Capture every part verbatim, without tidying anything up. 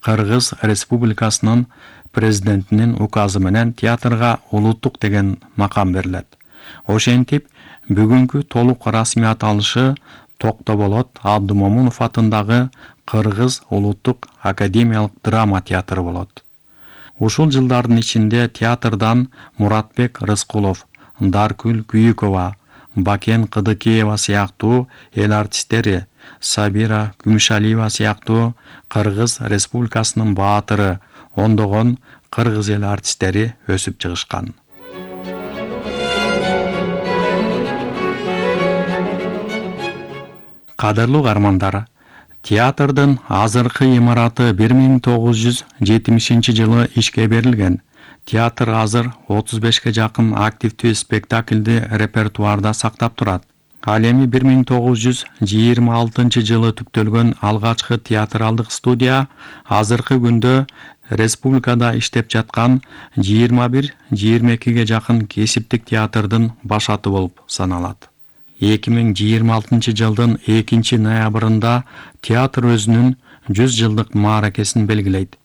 Кыргыз Республикасынын президентинин указы менен театрга улуттук деген макам берилет. Ошентип, бүгүнкү толук расмий аталышы Токтоболот Абдымомунов атындагы Кыргыз улуттук академиялык драма театры болот. Ушул жылдардын ичинде театрдан Муратбек Рыскулов, Даркүл Күйүкова, Бакен Кыдыкеева сыяктуу эл артисттери, Сабира Күмүшалиева сыяктуу Кыргыз Республикасынын баатыры, ондогон кыргыз эл артисттери өсүп чыгышкан. Кадырлуу каармандар, театрдын азыркы имараты бир миң тогуз жүз жетимишинчи жылы ишке берилген. Театр азыр отуз бешке жакын активдүү спектакльди репертуарда сактап турат. Ал эми бир миң тогуз жүз жыйырма алтынчы жылы түптөлгөн алгачкы театралдык студия азыркы күндө республикада иштеп жаткан жыйырма бир жыйырма экиге жакын кесиптик театрдын башаты болуп саналат. эки миң жыйырма алтынчы жылдын экинчи ноябрында театр өзүнүн жүз жылдык мааракесин белгилейт.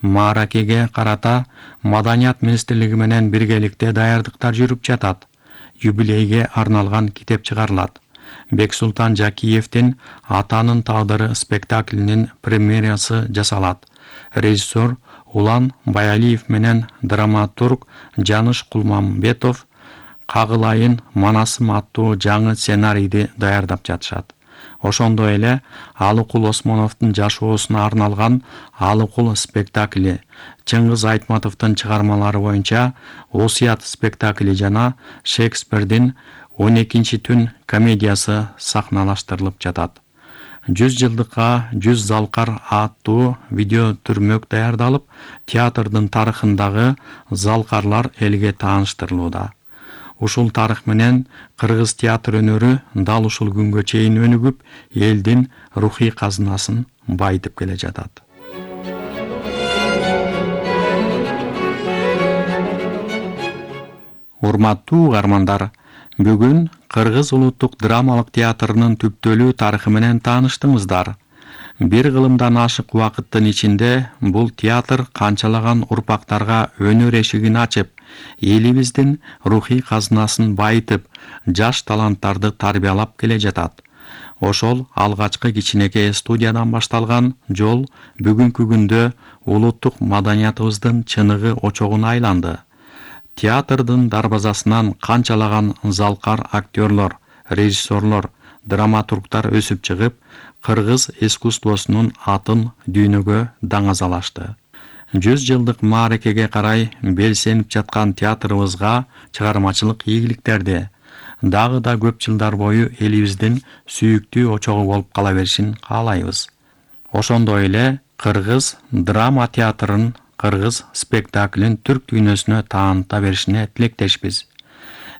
Мааракеге карата Маданият министрлиги менен биргеликте даярдыктар жүрүп жатат. Юбилейге арналган китеп чыгарылат. Бексултан Жакиевдин Атанын тагдыры спектаклинин премьерасы жасалат. Режиссер Улан Баялиев менен драматург Жаныш Кулмамбетов Кагылайын Манасым аттуу жаңы сценарийди даярдап жатышат. Ошондой эле Алыкул Осмоновдун жашоосуна арналган Алыкул спектакли, Чыңгыз Айтматовдун чыгармалары боюнча Осуят спектакли жана Шекспирдин он экинчи түн комедиясы сахналаштырылып жатат. жүз жылдыкка жүз залкар аттуу видео түрмөк даярдалып, театрдын тарыхындагы залкарлар элге тааныштырылууда. Ушул тарых менен кыргыз театр өнөрү дал ушул күнгө чейин өнүгүп, элдин рухий казынасын байытып келе жатат. Урматтуу угармандар, бүгүн Кыргыз улуттук драмалык театрынын түптөлүү тарыхы менен тааныштыңыздар. Бир кылымдан ашык убакыттын ичинде бул театр канчалаган урпактарга өнөр эшигин ачып, элибиздин рухий казынасын байытып, жаш таланттарды тарбиялап келе жатат. Ошол алгачкы кичинекей студиядан башталган жол бүгүнкү күндө улуттук маданиятыбыздын чыныгы очогуна айланды. Театрдын дарбазасынан канчалаган залкар актерлор, режиссерлор, драматургтар өсүп чыгып, кыргыз искусствосунун атын дүйнөгө даңазалашты. жүз жылдык мааракеге карай белсенип жаткан театрыбызга чыгармачылык ийгиликтерди, дагы да көп жылдар бою элибиздин сүйүктүү очогу болуп кала беришин каалайбыз. Ошондой эле кыргыз драма театрын, кыргыз спектаклин түрк дүйнөсүнө тааныта беришине тилектешпиз.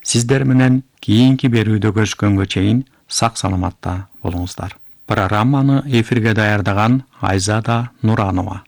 Сиздер менен кийинки берүүдө көрүшкөнгө чейин сак саламатта болуңуздар. Программаны эфирге даярдаган Айзада Нуранова.